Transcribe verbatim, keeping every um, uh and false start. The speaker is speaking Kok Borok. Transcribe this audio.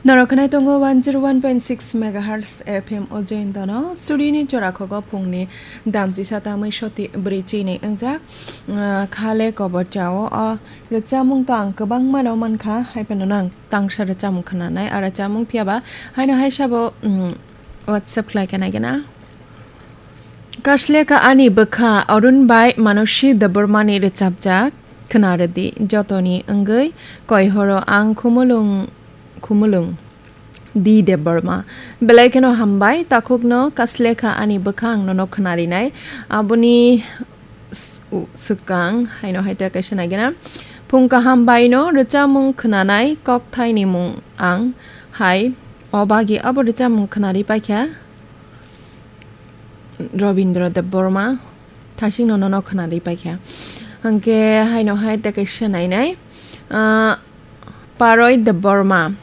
Norok khwnai tongo one zero one point six megahertz F M o jointono. Studio ni chora khogo phungni damchisa tamwi soti bwrwi chini wngjak, ah, khale kobor chao. O rwchapmung to ang kwbangmano mankha, hai phano nang tangsa rwchapmung khwnanai, a rwchapmung phiyaba haino hai sabo, mm, WhatsApp khlai khe naigena. Kasleka ani bwkha Arun bai Manosi Debbarmani rwchapjak khwnarwdi, jotoni wngwi koihoro ang khumulwng khumulwng. D Debbarma. Belai kheno hambai, takhukno Kasleka ani bwkha ang nono khwnarinai. Aboni s-, u-, swkang haino hai ta kaisa naigena. Phung kaham baino rwchapmung khwnanai kokthaini mung ang hai. O bagi abo rwchapmung khwnari paikha Robindra Debbarma. Thasingno nono khwnari paikha. Hwnkhe haino hai ta kaisa nainai. Ah, Paroi Debbarma.